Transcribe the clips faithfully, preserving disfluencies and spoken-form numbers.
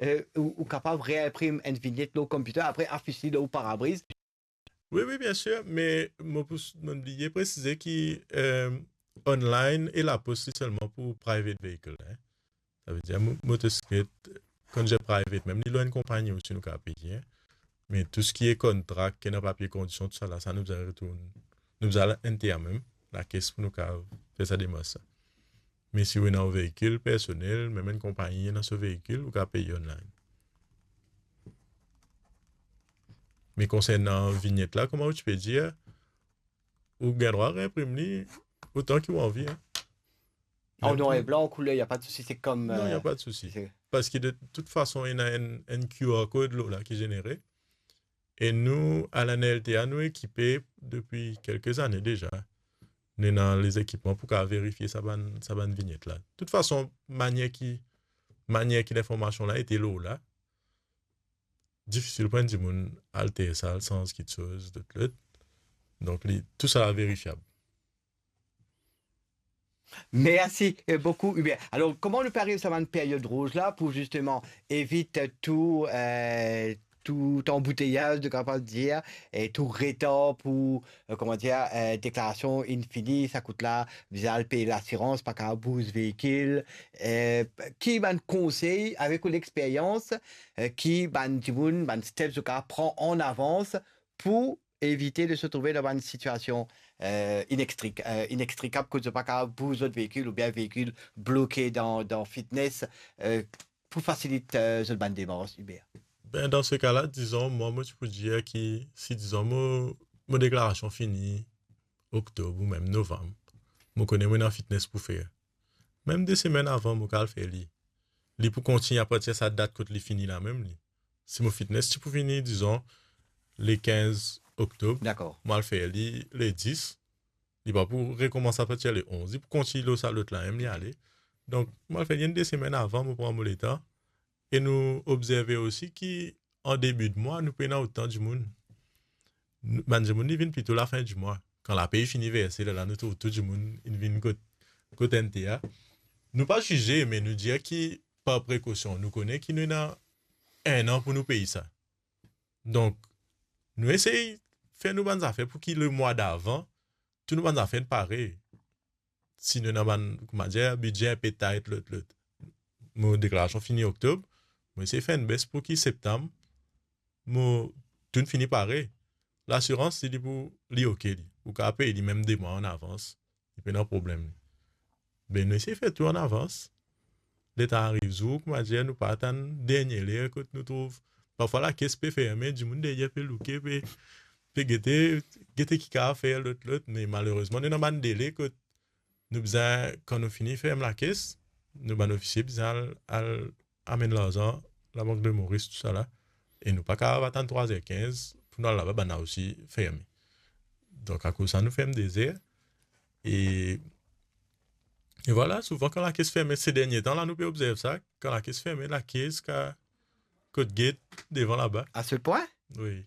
euh, ou, ou kapav reinprim enn vinyet lor computer, apre afis li lor parabriz. Wi, wi, bien sir, me mo pou, mo bliye presize ki, euh, online e lapos li selman pou private vehicle, hein. Savedir mo-, motosiklet, kan dir private, mem li lor enn konpagni osi nou kapav peye, hein. Me tou seki e contract, ki ena papie kondisyon, tousala, sa nou bizin retourn, nou bizin al N T A mem, lakes pou nou kapav fer sa demars la. Me si ou ena ou veikil personel, mem enn konpagni ena so veikil, ou kapav pey online. Me konsernan vinyet la, kouma ou ti pe dir, ou gagn drwa reinprim li otan ki ou anvi, hein. En noir et blanc, en couleur, y a pas de souci, c'est comme, non, y a pas de souci. Parski de tout fason, ena enn, enn Q R code lor la ki zenere. E nou, a la N L T A, nou ekipe depi kelke zane deza. Nou ena lezekipman pou kapav verifie sa bann, sa bann vinyet la. Tout fason, manier ki, manier ki linformasion la ete lor la, difisil pou enn dimoun alter sa, al sanz kitsoz, lot, lot. Donk, li, tou sa verifiab. Mersi, euh, boukou, Hubert. Alor, kouma nou pe ariv sa bann period rouz la pou zisteman evit, euh, tou, euh, tou anbouteyaz, nou kapav dir, e tou retar pou, euh, kouma dir, euh, deklarasion inn fini, sa kout la, bizin al pey lasirans, pa kapav bouz veikil. Euh, ki bann konsey, avek ou lexperyans, euh, ki bann dimoun, bann steps zot kapav pran an avans pou evite de se trouve dan bann sitiasion, euh, inextrik-, euh, inextrikab, kot zot pa kapav bouz zot veikil oubien veikil bloke dan, dan fitness, euh, pou fasilit, euh, zot bann demars, Hubert? Ben, dan se ka la, dizon, mwa, mo ti pou dir ki si, dizon, mo, mo deklarasion fini oktob ou mem novam, mo kone mo ena fitness pou fer. Mem de semenn avan, mo kapav fer li. Li pou kontign apartir sa dat kot li fini la mem, li. Si mo fitness ti pou fini, dizon, le kinz oktob, dakor, mo al fer li le dis, li pa pou rekoumans apartir le onz, li pou kontign lor sa lot la mem, li ale. Donk, mo al fer li enn de semenn avan, mo pran mo letan. E nou obzerve osi ki an debi de mwa, nou pena otan dimoun. Nou, bann dimoun, li vinn plito lafin di mwa. Kan lapey fini verse, lerla nou trouv tou dimoun inn vinn kot, kot N T A. Nou pa zize, me nou dir ki par prekosion, nou kone ki nou ena enn an pou nou pey sa. Donk, nou esey fer nou bann zafer pou ki lemwa davan, tou nou bann zafer pare. Si nou ena bann, kouma dir, bidze inpe tait, lot, lot. Mo deklarasion fini oktob, mo esey fer enn bes pou ki septam, mo tou fini pare. Lasirans, li, li pou, li oke, li. Ou kapav pey li mem de mwa an avans. Li pena problem, li. Be, nou esey fer tou an avans. Letan ariv zour, kouma dir, nou pa atann dernie ler kot nou trouv. Parfwa, lakes pe ferme, dimoun deryer pe louke, pe, pe gete, gete ki kapav fer, lot, lot. Me malerezman, nou ena bann dele kot nou bizin, kan nou fini ferm lakes, nou bann ofisie bizin al, al amenn larzan Labank de Moris, tousala. E nou pa kapav atann trwa zer kinz pou nou al laba, bann la osi ferme. Donk, akoz sa, nou ferm de zer. E, e vwala, souvan kan lakes ferme, se dernie tan la, nou pe obzerv sa, kan lakes ferme, lakes ka kot get devan laba. À ce point? Wi.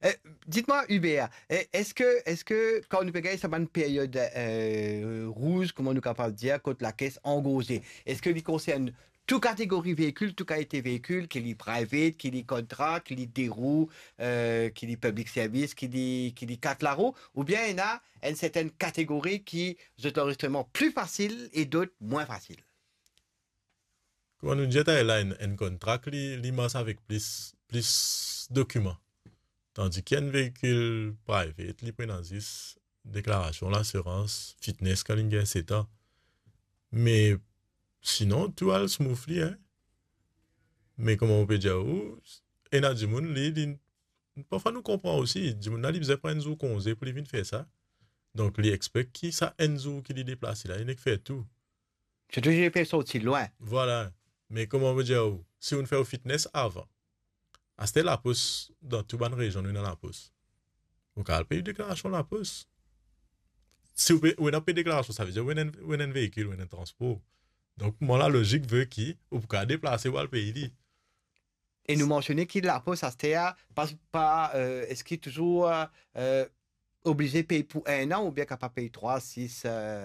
Eh, dites-moi, Hubert, eh, est-ce que, est-ce que kan nou pe gagn sa bann period, eh, rouz, kouma nou kapav dir, kot lakes angorze, eski li konsern tou kategori veikil, tou kalite veikil, ki li private, ki li kontra, ki li de rou, eh, ki li public service, ki li, ki li kat larou, oubien ena enn sertenn kategori ki zot lanrezistreman pli fasil e dot mwin fasil? Kouma nou dir taler la, enn, enn contract, li, li mars avek plis, plis dokiman. Tandis ki enn veikil private, li pou ena zis deklarasion, lasirans, fitness, kan li gagn set an. Me sinon, tou al smoothly, hein. Me kouma mo pe dir ou, ena dimoun, li, li, parfwa nou konpran osi, dimoun la, li bizin pran enn zour konze pou li vinn fer sa. Donk, li expect ki sa enn zour ki li deplase la, li nek fer tou. Sirtou si li pe sorti lwin. Vwala. Me kouma mo dir ou, si ou fer ou fitness avan, aster lapos, dan tou bann rezion nou ena lapos. Ou kapav al pey deklarasion lapos. Si ou pe, ou ena pey deklarasion, savedir ou ena, ou ena enn veikil, ou ena enn transpor. Donk, mwa, lalozik ve ki ou pou kapav deplase pou al pey li. E nou mansione ki lapos aster, pa, pa, eh, eski touzour, eh, oblize pey pou enn an oubien kapav pey trwa, sis, eh,